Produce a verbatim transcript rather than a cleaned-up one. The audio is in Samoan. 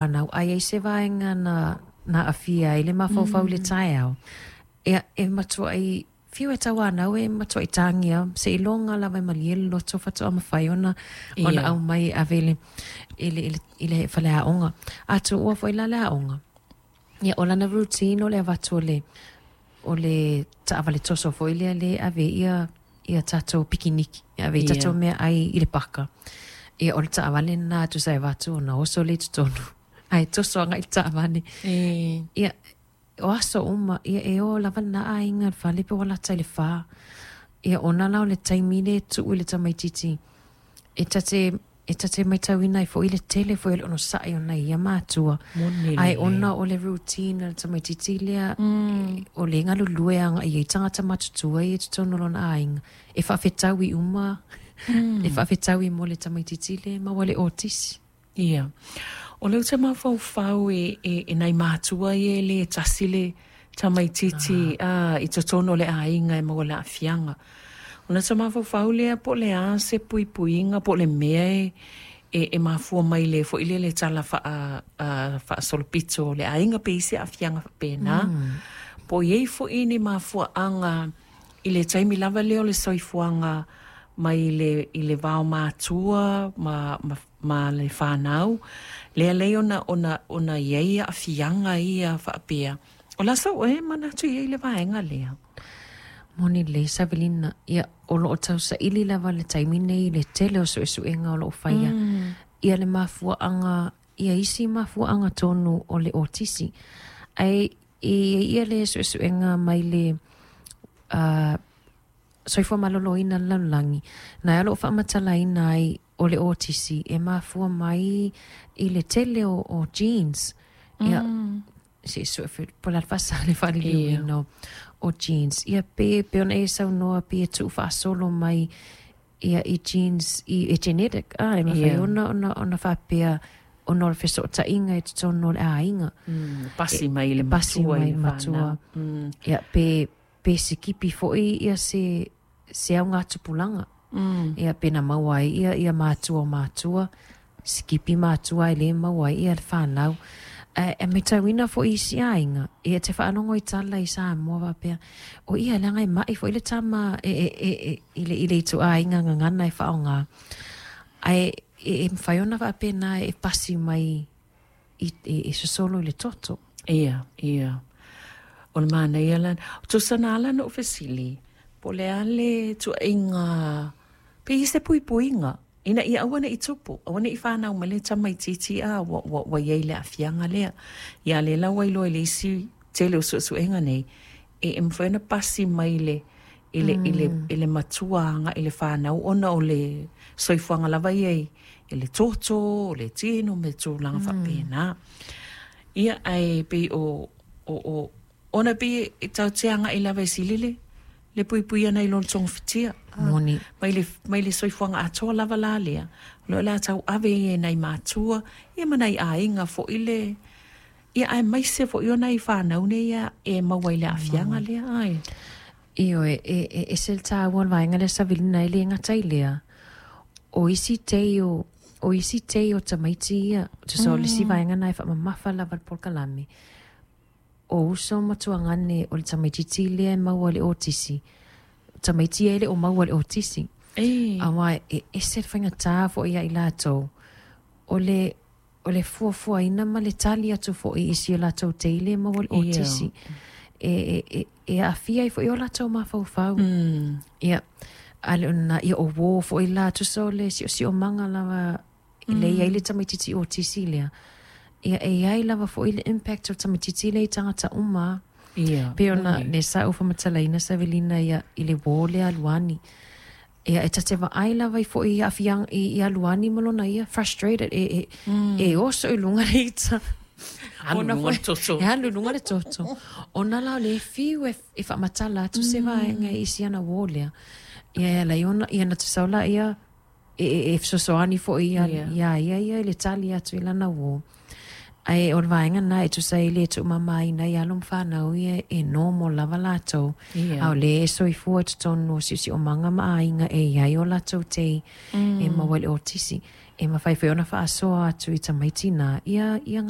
Fanau, a i ai se vaega na na aafia ai le mafaufau i le taeao, ia e matuai fiu e tauanau e matuai tagia seiloga lava e malie le loto faatoa mafai ona ona Ia. aumai e ave i le i le i le, i le faleaoga. A tuua foi la le aoga, ia o lana routine o le avatu o le o le taavale toso foi lea le ave ia ia tatou pikiniki, e ave i Ia. tatou meaai i le paka. Ia o le taavale lena tusa e avatu ona oso lea i totonu. Ae toso agai i le taavale. E. Ia, o aso uma, ia e o lava lena aiga i le fale pe ua lata i le fa. Ia ona la o le taimi lea e tuu i le tamaitiiti e ta te e ta te matauina ai foi le tele foi o le onosai ona ia matua. Moni Ae lelei. ona o le routine a le tamaitiiti lea, Mm. o le galulue agai ai tagata matutua ia i totonu o lona aiga. E faafetaui uma, Mm. e faafetaui mo le tamaitiiti lea e maua le otisi. Ia. O le ou te mafaufau e, e, e nai matua ia e lē tasi le tamaitiiti ah. I totonu o le aiga e maua le aafiaga. Ona ta mafaufau lea po o le a se puipuiga po o le mea e, e, e mafua mai le foi lea le tala faa, uh, faasolopito o le aiga pe i se aafiaga faapena. Mm. Po o iai foi ni mafuaaga i le taimi lava lea o le soifuaga mai le, i le vao matua ma, ma, ma le fanau, lea lei ona, ona, ona iai aafiaga ia faapea. O la sau e manatu i ai le vaega lea. Moni lelei Savelina, ia o loo tausaili lava le taimi nei i le tele o suesuega o loo faia. Mm. Ia le mafuaaga, ia isi mafuaaga tonu o le otisi. Ae e ia le suesuega mai le uh, soifua maloloina le lalolagi, na e o loo faamatalaina ai o le otisi e mafua mai i le tele o, o genes. Ia, Mm. se sue po la fasa le faaliliuina o, o genes. Ia pe, pe ona e saunoa pe e tuu faasolo mai ia i genes, i, e genetic. Ah, e mafai Ia. ona, ona, ona faapea ona o le fesootaiga i totonu o le aiga. Mm. Pasi mai i le E pasi matua mai i le matua. fanau. Mm. Ia pe, pe sikipi foi ia se, se augatupulaga. Mm. Ia pe na maua ai ia, ia matua o matua, sikipi matua e le maua ai ia le fanau. E, e matauina foi isi aiga, ia te faalogo i tala i Samoa faapea, o ia leaga e mai foi le tama e, e, e, e, i le, i le ituaiga gagana e faaaoga. Ae e, e mafai ona faapena e pasi mai i, e, e sosolo i le toto. Ia, ia. O le manaia la. Tusa na ala na ou fesili, po o le a le tuuaiga, pe i se puipuiga, ina ia aua ne'i tupu, aua ne'i fanau mai le tamaitiiti a ua, ua, ua iai le aafiaga lea. Ia lea la ua iloa i le isi tele o suesuega nei, e, e mafai ona pasi mai le, i le, i le, i le matua agai i le fanau ona o le soifuaga lava ia i, i le toto, o le tino me tulaga mm. faapena. Ia ae pei o, o, o ona pei e tatou te agai lava e sili le, le puipui ana i lo le togafitia. Moni. Mai le, mai le soifuaga atoa lava la lea. O le a tau ave ia e nai matua, ia ma nai aiga foi le, ia aemaise foi o nai fanau nei ia e maua i le aafiaga lea ai. Ioe, e, e, ese le taua o le vaega lea Savelina e le gata i lea. O isi tei o, o isi tei o tamaiti ia, tusa o le isi vaega na e faamamafa lava le polokalame. O uso ma tuagane o le tamaitiiti lea e maua le otisi. Tamaiti e le o maua le otisi. E. Aua e ese le faigatā foi ia i latou. O le, o le fuafuaina ma le tali atu foi i si o latou tei lea e maua le Ia. otisi. E, e, e, e aafia ai foi o latou mafaufau. Mm. Ia, a le ona, ia o uō foi la, tusa o le siosiomaga lava, mm. le iai le tamaitiiti otisi lea. Ia e iai lava foi le impact o le tamaitiiti lea i tagata uma. Ia. Pe ona moni. le sa ou faamatalaina Savelina ia i le uō lea aluani. Ia e ta te vaai lava i foi i aafiaga i, i aluani ma lona ia frustrated e, e, mm. e oso i luga le ita. Alu Ona luga foi- le toto. E alu i luga le toto. Ona la o le fiu e, e faamatala atu se vaega i si ana uō lea. Ia e ala i ona, ia na tusau la ia e, e, e fesoasoani foi ia, Ia. ia ia ia i le tali atu i lana uō. Ae o le vaega na e tusa ai le tuumamaina i alo ma fanau ia e normal lava latou. Ia. A o le e soifua i totonu o siosiomaga ma aiga e iai o latou tei Mm. e maua i le otisi. E mafai foi ona faasoa atu i tamaiti na ia, ia